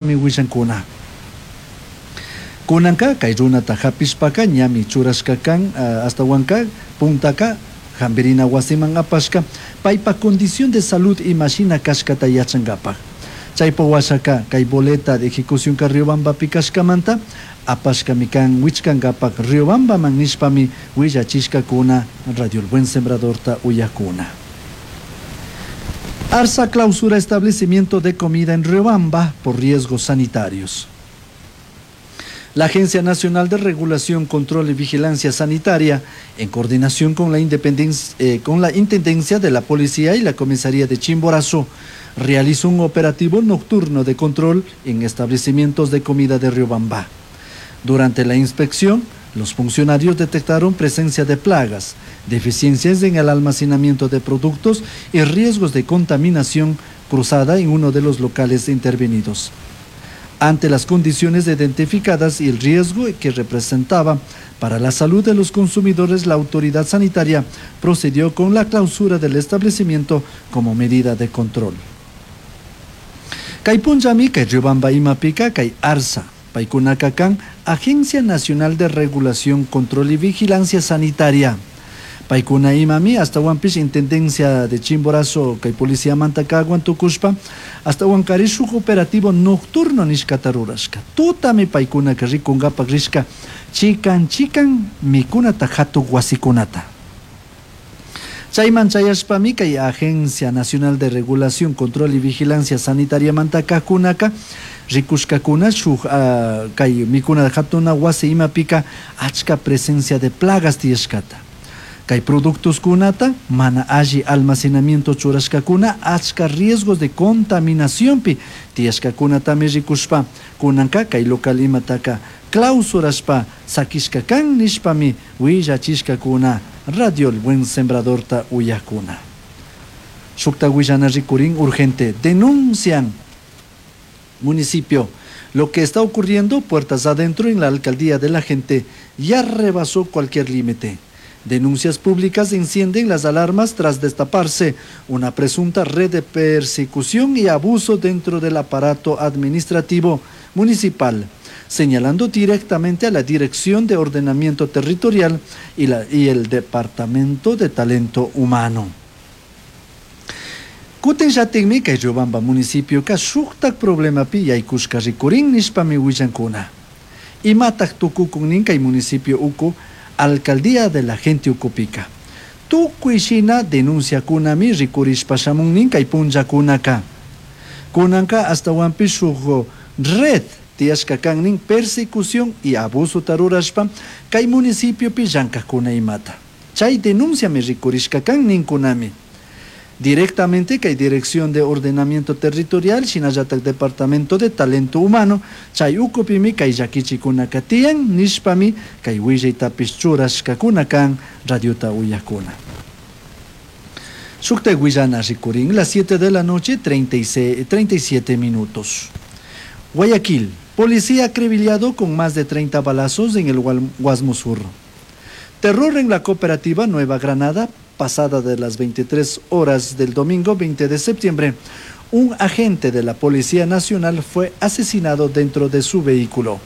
Huillancuna. Cunanca kay runata hapishpaka ñami churashka kan ashtawanka puntaka hambirina wasiman apashka paypa condición de salud imashina kashkata yachankapak. Chaypa washaka kay boleta de ejecución ka Riobambapi kashkamanta apashkami kan wichkankapak Riobambaman nishpami willachishkakuna Radio El Buen Sembradorta uyakuna. Arsa clausura establecimiento de comida en Riobamba por riesgos sanitarios. La Agencia Nacional de Regulación, Control y Vigilancia Sanitaria, en coordinación con la, con la Intendencia de la Policía y la Comisaría de Chimborazo, realizó un operativo nocturno de control en establecimientos de comida de Riobamba. Durante la inspección, los funcionarios detectaron presencia de plagas, deficiencias en el almacenamiento de productos y riesgos de contaminación cruzada en uno de los locales intervenidos. Ante las condiciones identificadas y el riesgo que representaba para la salud de los consumidores, la autoridad sanitaria procedió con la clausura del establecimiento como medida de control. Kay punllami, kay Riobamba imapika, kay ARSA, paykunaka kan, Agencia Nacional de Regulación, Control y Vigilancia Sanitaria. Paykuna imami ashtawanpish Intendencia de Chimborazo kay policía mantakawan tukushpa ashtawankari shuk operativo nocturno nishkata rurashka. Tutami paykunaka rikunkapak rishka chikan chikan mikunata hatuk wasikunata. Chayman chayashpami kay Agencia Nacional de Regulación, Control y Vigilancia Sanitaria mantakakunaka rikushkakuna shuk kay mikuna hatuna wasi imapika achka presencia de plagas tiyashkata. Kay productos kunata mana alli almacenamiento churashkakuna achka riesgos de contaminacionpi tiyashkakunatami rikushpa kunanka kay local imataka clausurashpa sakishka kan nishpami willachishkakuna Radio El Buen Sembradorta uyakuna. Shukta willana rikurin urgente denuncian municipio. Lo que está ocurriendo puertas adentro en la alcaldía de la gente ya rebasó cualquier límite. Denuncias públicas encienden las alarmas tras destaparse una presunta red de persecución y abuso dentro del aparato administrativo municipal, señalando directamente a la Dirección de Ordenamiento Territorial y el Departamento de Talento Humano. Kutin llatikmi kay Riobamba municipioka shuktak problemapi yaykushka rikurin nishpami willankuna. Imatak tukukun nin kay municipio uku alcaldía de la gente ukupika. Tukuy shina denunciakunami rikurishpa shamun nin kay punllakunaka. Kunanka ashtawanpish shuk red tiyashka kan nin persecución y abuso tarurashpa kay municipiopi llankakuna imata. Chay denunciami rikurishka kan ninkunami. Directamente kay Dirección de Ordenamiento Territorial, shinallatak Departamento de Talento Humano, chay ukupimi kay llakichikunaka tiyan nishpami kay willaytapish churashkakuna kan radiota uyakuna. Shukta willana rikurin, las 7 de la noche, 37 minutos. Guayaquil, policía acribillado con más de 30 balazos en el Guasmo Sur. Terror en la cooperativa Nueva Granada, pasada de las 23 horas del domingo 20 de septiembre, un agente de la Policía Nacional fue asesinado dentro de su vehículo.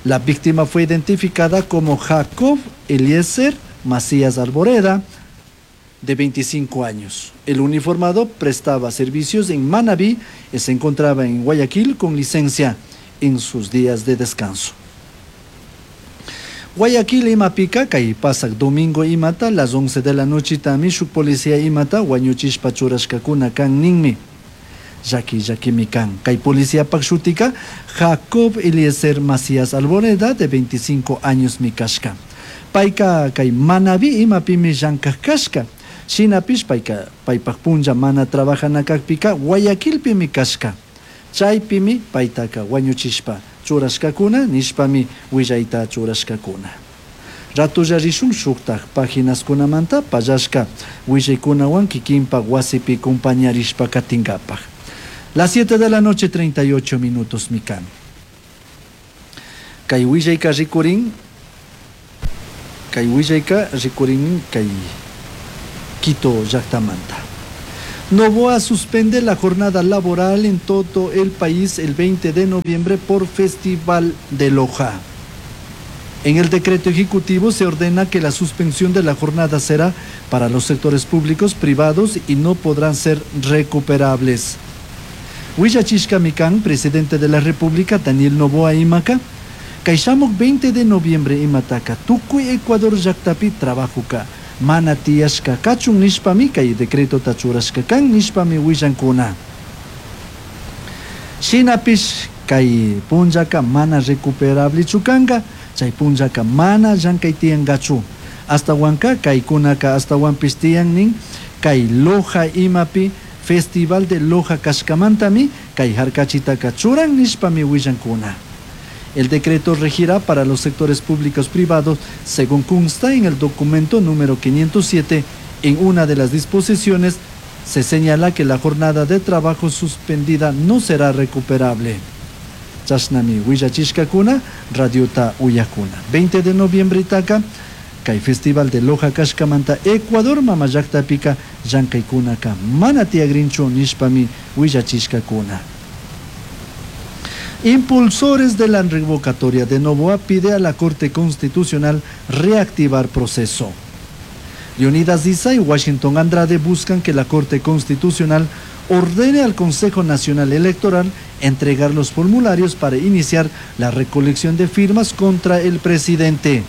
La víctima fue identificada como Jacob Eliezer Macías Arboleda, de 25 años. El uniformado prestaba servicios en Manabí y se encontraba en Guayaquil con licencia en sus días de descanso. Guayaquil imapika kay pasak domingo imata las 11 de la noche tami shuk policía imata wañuchishpa churashkakuna kan ninmi. Llaki llakimi kan. Kay policía pak shutika Jacob Eliezer Macías Alboreda de 25 años mi kashka. Payka kay Manabí imapimi llankaj kashka. Shinapish payka paypak punlla mana trabajanakakpika Guayaquilpimi kashka. Chaypimi paytaka wañuchishpa churashkakuna nishpami willayta churashkakuna. Ratulla rishun shuktak paginaskunamanta pallashka willaykunawan kikinpak wasipi compañarishpa katinkapak. Las 7 de la noche 38 minutos mikan. Kay willayka rikurin, kay willayka rikurin kay Quito llaktamanta. Noboa suspende la jornada laboral en todo el país el 20 de noviembre por Festival de Loja. En el decreto ejecutivo se ordena que la suspensión de la jornada será para los sectores públicos, privados y no podrán ser recuperables. Willachishka mikan, presidente de la República, Daniel Noboa imaka, kay shamuk 20 de noviembre imataka, tukuy Ecuador llaktapi trabajoka, mana tiyashka kachun nishpami kay decretota churashka kan nishpami willankuna. Shinapish kay punllaka mana recuperablechu kanka, chay punllaka mana llankay tiyankachu. Astawanka kaykunaka astawanpish tiyan nin kay Loja imapi Festival de Loja kashkamantami kay harkachitaka churan nishpami willankuna. El decreto regirá para los sectores públicos privados, según consta en el documento número 507. En una de las disposiciones se señala que la jornada de trabajo suspendida no será recuperable. Chashnami willachishkakuna, radiota uyakuna. 20 de noviembre itaka, kay Festival de Loja kashkamanta Ecuador mamallaktapika llankaykunaka mana tiyagrinchu nishpami willachishkakuna. Impulsores de la revocatoria de Noboa pide a la Corte Constitucional reactivar proceso. Leonidas Iza y Washington Andrade buscan que la Corte Constitucional ordene al Consejo Nacional Electoral entregar los formularios para iniciar la recolección de firmas contra el presidente.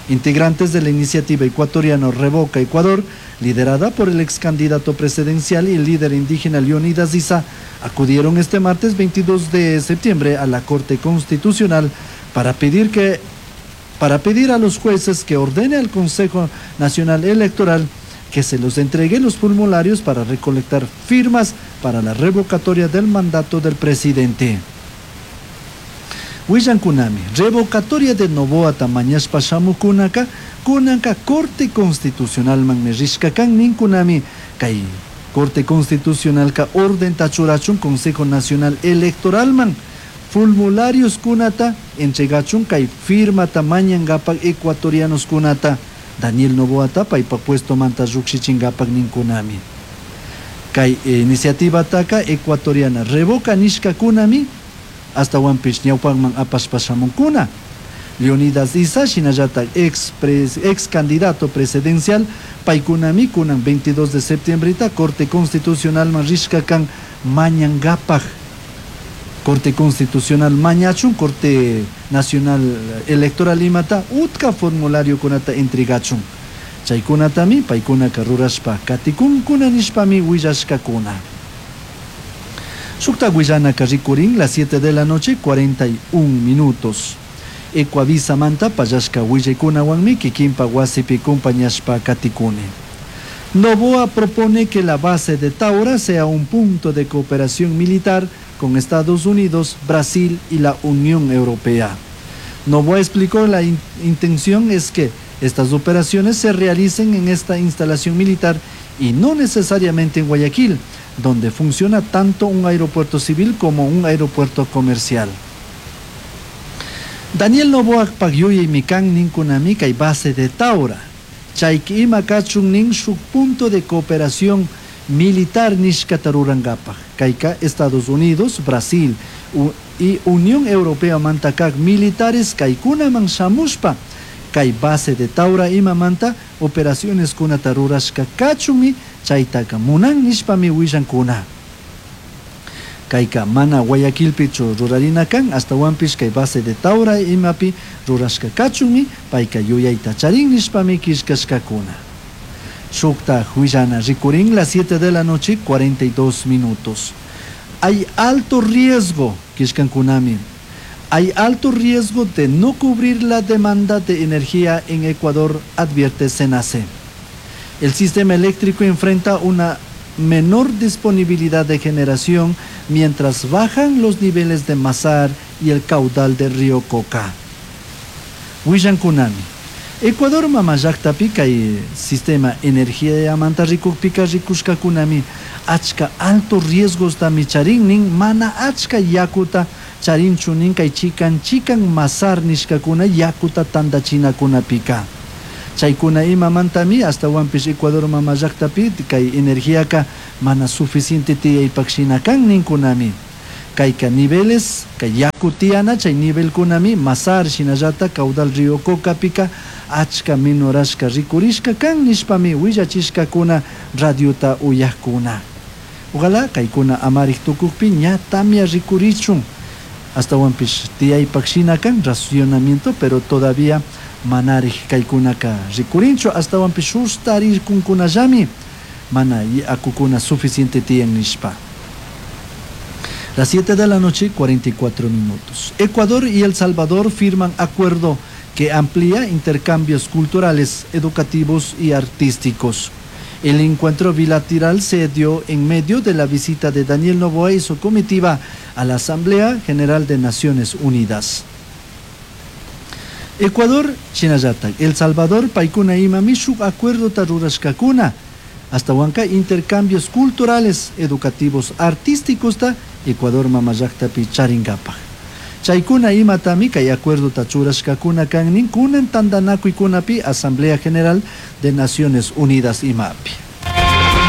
Integrantes de la iniciativa ecuatoriana Revoca Ecuador, liderada por el ex candidato presidencial y líder indígena Leonidas Iza, acudieron este martes 22 de septiembre a la Corte Constitucional para pedir a los jueces que ordene al Consejo Nacional Electoral que se los entregue los formularios para recolectar firmas para la revocatoria del mandato del presidente. Willankunami, revocatoria de Noboa mañashpa shamukunaka, kunanka Corte Constitucional manmi rishka kan ninkunami, kay Corte Constitucional ka orden churachun Consejo Nacional Electoral man, formularios kunata entregachun kay firmata mañangapak ecuatorianos kunata, Daniel Noboa paypa puesto manta llukshichingapak ninkunami. Kay iniciativa taka ecuatoriana revoca nishka kunami, astawanpish ñawpakman apashpa shamunkuna. Leonidas Iza, shinallatak ex candidato presidencial, paykunami kunan 22 de septiembre Corte Constitucional man rishka kan mañangapak. Corte Constitucional mañachun, Corte Nacional Electoral imata, utka formulario kunata entregachun. Chaykunatami paykunaka rurashpa katikunkuna nishpami willashkakuna. Shukta willanaka rikurin las 7 de la noche, 41 minutos. Ecuavisa manta pallashka willaykunawanmi kikinpa wasipi kumpañashpa katikuni. Noboa propone que la base de Taura sea un punto de cooperación militar con Estados Unidos, Brasil y la Unión Europea. Noboa explicó la intención es que estas operaciones se realicen en esta instalación militar y no necesariamente en Guayaquil, donde funciona tanto un aeropuerto civil como un aeropuerto comercial. Daniel Noboa pagyuyay mikan ninkunami kay base de Taura. Chayki ima kachun nin shuk punto de cooperación militar nishkata rurangapak. Kayka Estados Unidos, Brasil y Unión Europea mantakak militares kaykunaman shamushpa kay base de Taura imamanta operaciones kunata rurashka kachunmi chaytaka munan nishpami willankuna. Kayka mana Guayaquilpichu rurarina kan, astawanpish kay base de Taura imapi rurashka kachunmi payka yuyayta charin nishpami killkashkakuna. Shukta huillana rikurin las 7 de la noche, 42 minutos. Hay alto riesgo, killkankunami. Hay alto riesgo de no cubrir la demanda de energía en Ecuador, advierte CENACE. El sistema eléctrico enfrenta una menor disponibilidad de generación mientras bajan los niveles de Mazar y el caudal del río Coca. Willankunami. Ecuador mamallaktapi kay sistema energía manta rikukpika rikushkakunami achka alto riesgos tami charin nin mana achka yakuta charinchu nin kay chikan chikan Mazar nishkakuna yakuta tandachinakunapika. Chaykuna imamantami ashtawanpish Ecuador mama llaktapi kay energiaka mana suficiente tiyaypak shina kan ninkunami. Kayka niveles, kay yaku tiyana chay nivelkunami Mazar shinallatak caudal río Cocapika achka menorashka rikurishka kan nishpami willachishkakuna radiota uyakkuna. Ojalá kaykuna amarik tukukpi ña tamia rikurichun ashtawanpish tiyaypak shina kan racionamiento, pero todavía manarik kaykunaka rikurinchu, ashtawanpish sustarirkunkunallami mana yakukuna suficiente tiyan nishpa. Las 7 de la noche, 44 minutos. Ecuador y El Salvador firman acuerdo que amplía intercambios culturales, educativos y artísticos. El encuentro bilateral se dio en medio de la visita de Daniel Noboa y su comitiva a la Asamblea General de Naciones Unidas. Ecuador, shinallatak, El Salvador, paykuna imami shuk acuerdota rurashkakuna, ashtawanka intercambios culturales, educativos, artísticos ta Ecuador mama llaktapi charinkapak. Chaykuna imatami kay acuerdota churashkakuna kan nin kunan tantanakuykunapi Asamblea General de Naciones Unidas imapi.